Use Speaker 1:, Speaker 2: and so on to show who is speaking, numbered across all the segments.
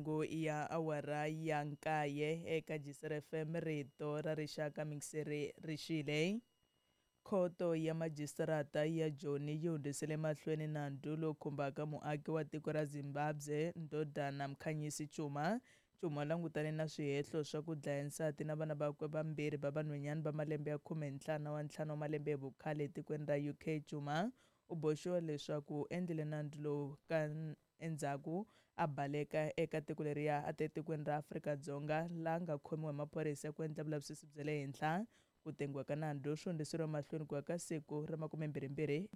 Speaker 1: Mahungu ya awara ya nkaye eka Jisr FM rito ra rixaka mixere rixile. Khoto ya majistarata ya Joni yi hundzisele mahlweni nandzu lowu khumbaka muaki wa tiko ra Zimbabwe Ndodana Mkhanyisi Chuma. Chuma langutane na swihehlo swa ku dlaya nsati na vana vakwe vambirhi va vanhwanyana va malembe ya 15 wa 5 wa malembe hi vukhale etikweni ra UK. Chuma u boxiwa leswaku u endlile nandzu lowu ka endzhaku a baleka eka tiko leriya a ta etikweni ra Afrika-Dzonga laha nga khomiwa hi maphorisa ku endla vulavisisi bya le henhla. Ku tengiwa ka nandzu swi hundziseriwa mahlweni ku ya ka siku ra 22.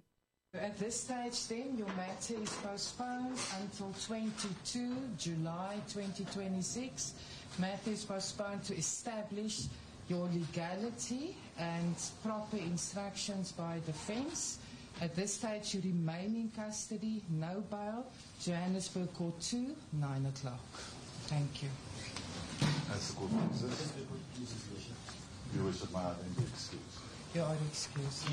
Speaker 2: At this stage then, your matter is postponed until 22 July 2026. Matter is postponed to establish your legality and proper instructions by defense. At this stage, you remain in custody, no bail. Johannesburg Court 2, 9 o'clock. Thank you.
Speaker 3: That's the court process. Your Worship, may I then be excused?
Speaker 2: You are excused.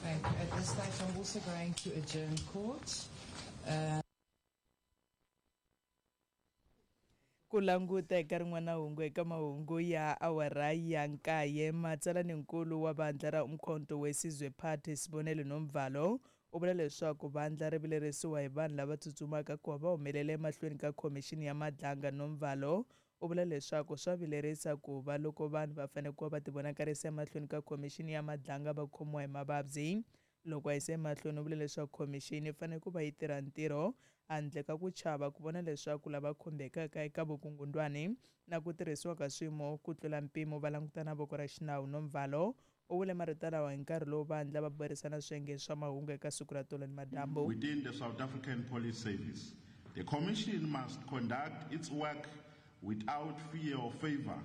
Speaker 2: Thank you. At this stage, I'm also going to adjourn court.
Speaker 1: Ku languta eka rin'wana hungu eka mahungu ya awara ya nkaye, matsalaninkulu wa vandla ra Umkhonto weSizwe Party Sibonelo Nomvalo u vula leswaku vandla ri vilerisiwa hi vanhu lava tsutsumaka ku va va humelela emahlweni ka khomixini ya Madlanga. Nomvalo u vula leswaku swa vilerisa ku va loko vanhu va fanele ku va va tivonakarisa emahlweni ka khomixini ya Madlanga va khomiwa hi mavabyi. Loko a yisa emahlweni u vule leswaku khomixini yi fanele ku va yi tirha ntirho handle ka ku chava ku vona leswaku lava khumbekaka eka vukungundwani na ku tirhisiwa ka swiyimo ku tlula mpimo va langutana voko ra xinawu. Nomvalo u vule marito lawa hi nkarhi lowu vandla va burisana swiyenge swa mahungu eka siku ra tolo ni madyambu.
Speaker 3: Within the South African Police Service, the Commission must conduct its work without fear or favor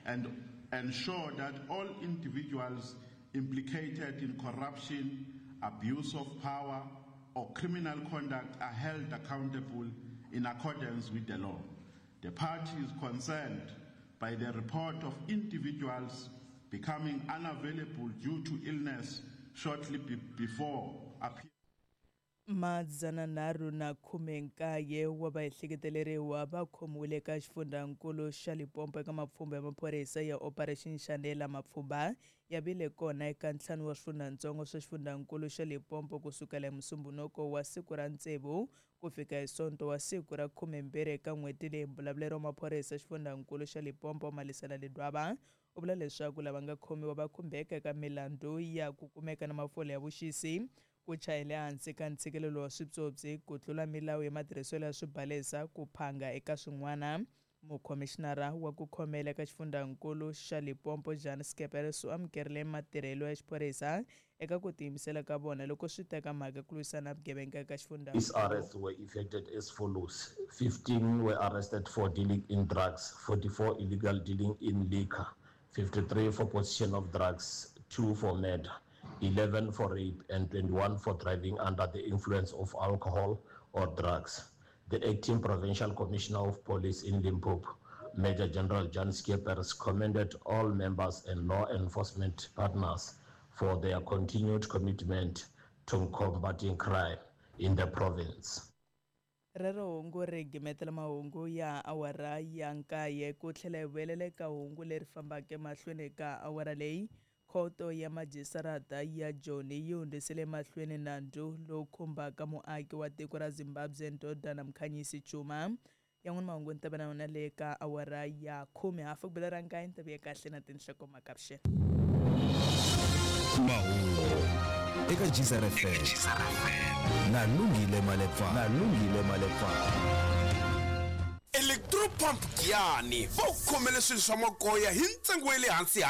Speaker 3: and ensure that all individuals implicated in corruption, abuse of power, or criminal conduct are held accountable in accordance with the law. The party is concerned by the report of individuals becoming unavailable due to illness shortly before appearing.
Speaker 1: 319 wa vaehleketeleriwa va khomiwile eka xifundzankulu xa Limpopo eka mapfhumba ya maphorisa ya Operation Shanela. Mapfhumba ya vile kona eka 5 wa swifundzantsongo swa xifundzankulu xa Limpopo kusukela hi Musumbhunuko wa siku ra 6 ku fika hi Sonto wa siku ra 12 eka n'hweti leyi. Mbulavuleri wa maphorisa xifundzankulu xa Limpopo Malisela Ledwaba u vula leswaku lava nga khomiwa va khumbeka eka milandzu ya ku kumeka na mafole ya vuxisi, ku chayela ehansi ka ntshikelelo wa swipyopyi, ku tlula milawu ya matirhiselo ya swibalesa, ku phanga eka swin'wana. Mukhomixinara wa ku khomela eka xifundzankulu xa Limpopo Jan Scheepers u amukerile matirhelo ya xiphorisa eka ku tiyimisela ka vona loko swi teka mhaka ku lwisana na vugevenga eka
Speaker 4: xifundzhankulu. These arrests were effected as follows: 15 were arrested for dealing in drugs, 44 illegal dealing in liquor, 53 for possession of drugs, 2 for murder, 11 for rape, and 21 for driving under the influence of alcohol or drugs. The acting provincial commissioner of police in Limpopo, Major General Jan Scheepers, commended all members and law enforcement partners for their continued commitment to combating crime in the province.
Speaker 1: Rero hungu ri gimetela mahungu ya awara ya 9 ku tlhela hi vuyelela eka hungu leri fambaka emahlweni ka awara leyi. Khoto ya majistarata ya Joni yi hundzisele mahlweni nandzu lowu khumbaka muaki wa tiko ra Zimbabwe Ndodana Mkhanyisi Chuma. Yan'wana mahungu ni ta va na yona le ka awara ya 10 hafu ku bela ra 9 ni ta vuya kahle na tinhlokomhaka vuxeni.
Speaker 5: Mahungu eka Geyser FM na Lungile Malepa, na Lungile Malepa.
Speaker 6: Electropump Giyani va ku khomele swilo swa magoya hi ntsengo wa le hansi.